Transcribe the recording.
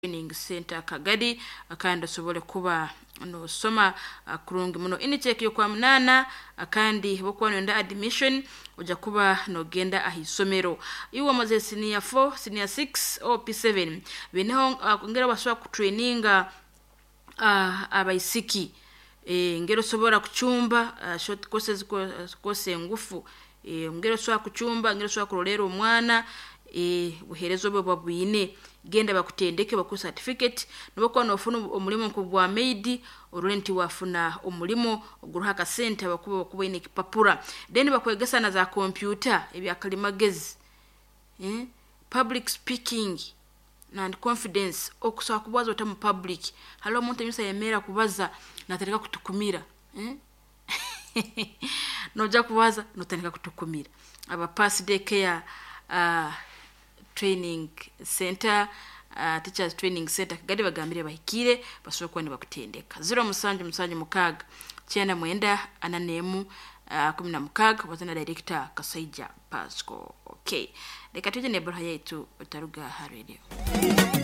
Training Center Kagadi, kandi osobole kuba nosoma kurungi muno. Intake yokwa munana, kandi bokuba noyenda admission ojja kuba nogenda ahisomero. Iwe omaze senior 4, senior 6 or P7, bineho ngera basobola kutraininga abaisiki ngeri osobora kucumba, short courses, course engufu, ngeri osobola kucumba, ngeri osobola kurolera omwana, buhereza obwo buba bwine. Genda bakutendeke bakuhe certificate, nobu okuba nofuna omurimo nk'ogwa maid, orole nti wafuna omurimo oguruho akasente habwokuba okuba oyine ekipapura. Then bakwegesa na za computer, ebyakalimagezi, public speaking and confidence, okusobola kubaza ota mu public. Haroho omuntu emiisa ayemerra kubaza natandika kutukumira, nojya kubaza notandika kutukumira. Aba Pass Day Care Training Center, Teachers Training Center Kagadi bagambire bahikiire basobole kuba nibakutendeka. 0776 99 41 16 baza na Director Kasaija Pascal. Okay. Reka tuje n'ebbaruha yaitu otaruga ha radio.